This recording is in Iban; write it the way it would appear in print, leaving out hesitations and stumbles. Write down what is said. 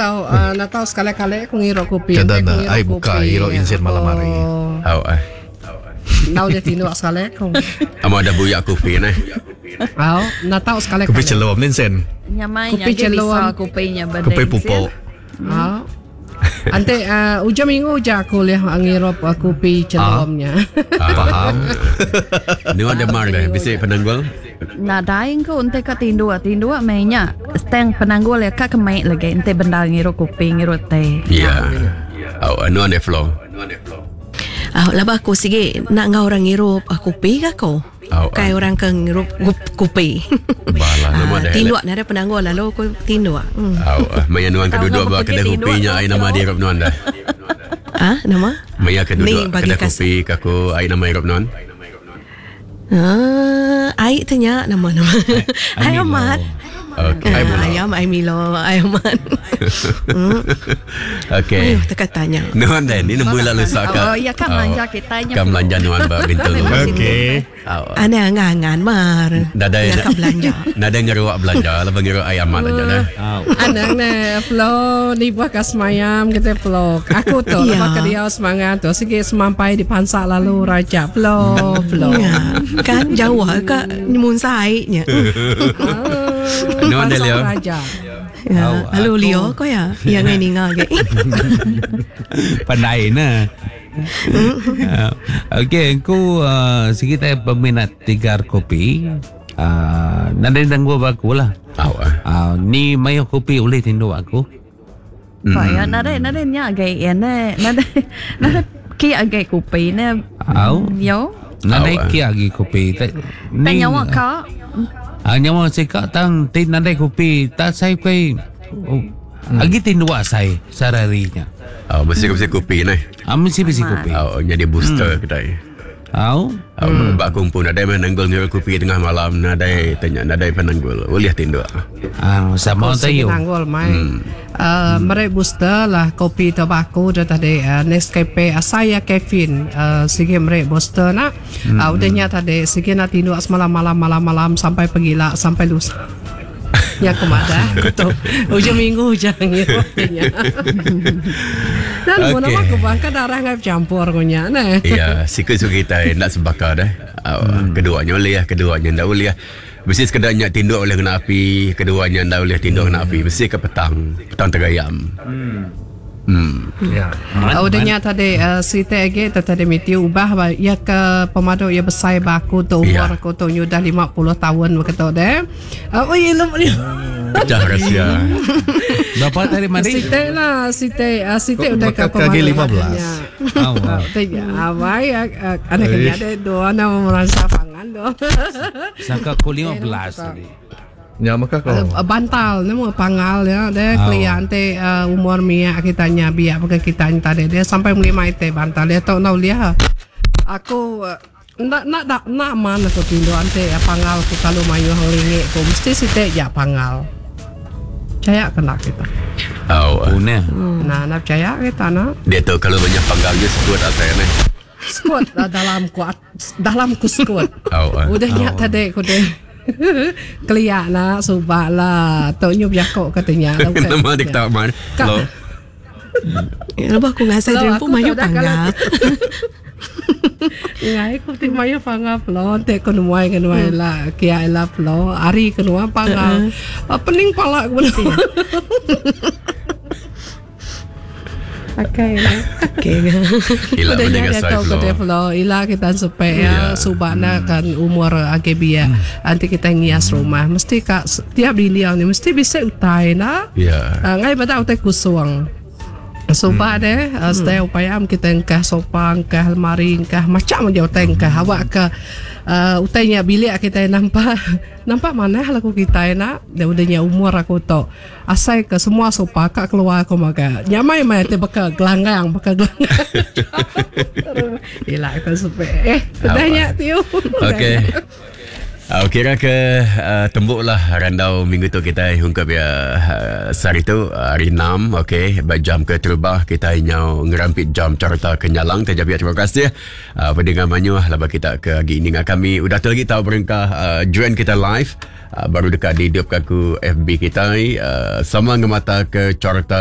tau uh, na tau sekali-kali aku ngirup kopi. Kada Enti aku na ngirup ai buka kopi, iro insin malam hari. Oh. Au ah. Nau dia tinduk sekali aku. Amo ada buyak kopi neh. Au, na tau sekali Kopi kali. celum ni sen. Nyamai Kopi nya agi celum. bisa kopi nya bedeng. Kopi pupuk. Au. Enti uh, ujung minggu ja aku ulih ngirup uh, kopi celum nya. Faham. Nuan demar deh bisi penanggul. Nadai engku enti ka tinduk, tinduk meh nya. Stang penanggul iya ka kemei lagi enti bendar ngirup kopi ngirup teh. Ya. Au nuan deh Flo. Au laban aku sigi enda enggau orang ngirup kopi ga aku. Ukai orang ke ngirup kopi. Bala nama deh. Tinduk nadai penanggul lalu aku tinduk. Au maya nuan ke duduk ba kedai kopi nya ai nama diirup nuan dah. Ah nama? Maya ke duduk kedai kopi ke aku ai nama irup nuan? Ah ai te nya nama nama. Ai amat. Okey. Ai ayam ai Milo ai amat. Okey. Mayuh teka tanya. Nuan deh ni nemu lalu saka. Oh iya ka melanja kitai nya. Ka melanja nuan ba Bintulu. Okey. Anang angan mar. Nadai Ka belanja. Nadai ngeruak belanja laban ngeruak ai amat aja dah. Anang ne Flo nibuh ka semayam kitai Flo. Aku tu Ya. lebuh ke diau semangat tu sigi semampai dipansa lalu raja Flo Flo. Ya. Kan jauh ka nyemunsa ai nya. Nuan deh Pansa Leo. raja. Ya. Au, Lalu aku- Leo ko ya. Ya ngai ninga agi. Pandai ne. Uh, Okey, aku uh, sigi tai peminat tigar kopi. Uh, nadai nanggu ba aku lah. Au ah. Uh, ni mayuh kopi ulih tinduk aku. Ba ya nadai nadai nya agi ya ne nadai nadai ki agi kopi ne. Au. Yo. Nadai Au, ah. ki agi kopi. Tan nyawa ka. Ah, nyawa sika tang ti nadai kopi tak saya kai oh, agi tinduk saya sehari-harinya. Au mesti mesti kopi neh. Ah, mesti mesti kopi. Au jadi booster kedai. Au. Au ba aku pun nadai menanggul ngirup kopi tengah malam nadai tanya nadai penanggul. Ulih tinduk. Ah, sama Sigi tayo. Nanggul mai. Uh, Meri booster lah kopi tobako dah tadi uh, Nescafe asai ya caffeine uh, sigi meri booster nak. Uh, udah nya tadi sigi nak tinduk semalam malam malam malam sampai pegila sampai lusa. Ya aku madah aku tu ujung minggu ujung ngirup nya. Dan okay. Okey. nama aku bangka darah ngai campur ku nya neh. Ya, sikit suka kita nak sebakar dah. Hmm. Keduanya boleh, keduanya ndak boleh. Mesti sekedar nyak tinduk boleh kena api, keduanya ndak boleh tinduk kena api. Mesti ke petang, petang tergayam. Hmm. Ya. Oh, udah nya tadi uh, siti agi tu tadi miti ubah ba ya ke pemadu ya besar ba aku tu umur Ya. aku tu nya udah 50 tahun begitu deh. Uh, oh iya lem Pecah rahsia. Berapa tadi mari? Siti lah siti uh, siti Kok udah ke maka kaki pemadu 15. Au. Tadi awai anak kena ada dua nama merasa pangan do. Sangka aku 15 tadi. Ya maka kau. Uh, bantal ni mau pangal ya deh Oh. klien te uh, umur mia kita nya biak pakai kita nya tadi dia sampai melima ite bantal dia tau nau liha aku uh, nak nak nak nak mana aku tinduk ante uh, pangal ku kalau mayu hang lingik ku mesti site ya pangal percaya kena kita Au. Pune. nah nak percaya kita nak Dia tu kalau banyak panggalnya sebut asal ni. squat uh, dalam ku dalam ku squat Au. ah. Udah nyak tadi ku deh. Keliak lah, subak lah. Tok nyub jakok katanya. Nama dia ketawa man. Kak. Lo. Ya, lepas aku ngasai Kalau diri aku pun mayu tak dah panggal. Ngai ku ti mayu panggal plo, te ku nuai ke nuai lah, kia lah plo, ari ke nuai panggal. Ah, Pening pala ku. Okey. Okey. Ila Udah mendengar nya saya tahu ke Flo. Flo, ila kita supaya Ya. subana kan umur AGB ya. Nanti kita ngias rumah, mesti kak tiap dinding ni mesti bisa utai nah. Ya. Uh, ngai pada utai kusuang. Suba deh, uh, setiap upaya am kita engkah sofa, engkah lemari, engkah macam aja utai engkah. Awak ke uh, utainya bilik kita nampak nampak mana laku kita nak. Dia udahnya umur aku tu. Asai ke semua sofa kak keluar aku maka. Nyamai mai te beka gelanggang, beka gelanggang. Ila kita supaya eh udahnya tiu. Okey. Uh, kira ke uh, tembuklah randau minggu tu kita hungkap ya uh, sehari tu uh, hari 6 okey jam ke terubah kita nyau ngerampit jam carta kenyalang terjabi terima kasih uh, pendengar manyu laba kita ke lagi ini dengan kami udah tu lagi tahu berengkah uh, join kita live uh, baru dekat di hidup aku FB kita uh, sama ngemata ke carta.